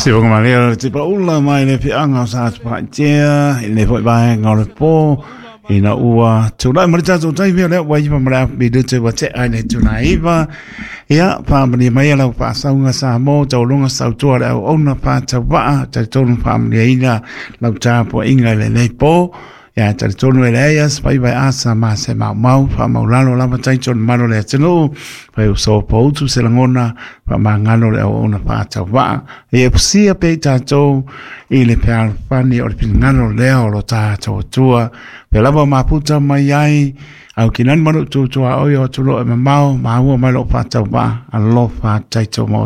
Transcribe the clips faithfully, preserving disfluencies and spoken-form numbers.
Se o malia te pa ula mai le whianga o sa te paitea, i le foi vaenga o le pō, ina ua tūlai ma le tātou taimi o lea ua iwa ma le afu minute ua te ai le tūlai iwa. Ia, whaamani mai lau whaasaunga sa mō, taulunga sautua le au ona whaatawaa, talitonu whaamani aina lau tāpua inga i le nei pō. Ia, talitonu e le as, pai vai asa ma se mau mau, wha lalo lava taito malo le atunuu, whai uso poutu se langona, wha mangano le au ona whaatawaa. Ia pusia pe tātou i le pealfani o le pingano lea o lo tātou atua. Pe lava maputa mai ai, au ki nani manu tūtua oi o tulo e mamao, maua mai lo whaatawaa, alofa taito mō.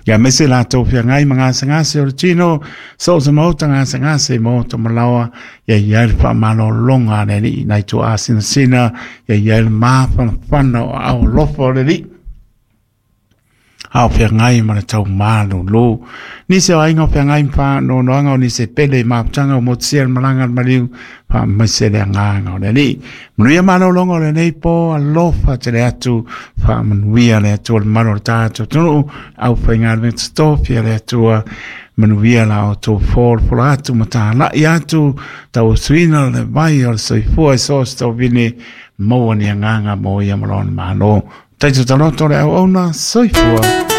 Ia mese la tau whia ngai mga ngase o le tino, so se mauta ngase ngase mō tō malawa, ia ia le wha malo longa le li, nai tō asina sina, ia ia le māwhana whana o au alofa o le li. Au whia ngai ma le tau malo lo. Nise o ainga whia ngai mpa no noanga o nise pele maputanga o motia le malanga le mariu, wha maise le anganga o le li. Manuia malo longa o le nei po, alofa te le atu, wha manuia le atua le malo le tātou tunu, au whainga le tōpia le atua, manuia la o tō fōl fola atu, ma tā lai atu, tau suina le vai o le soifua i sos tau vini, maua ni anganga mō ia malona malo. Taito taloto le au ona, soifua.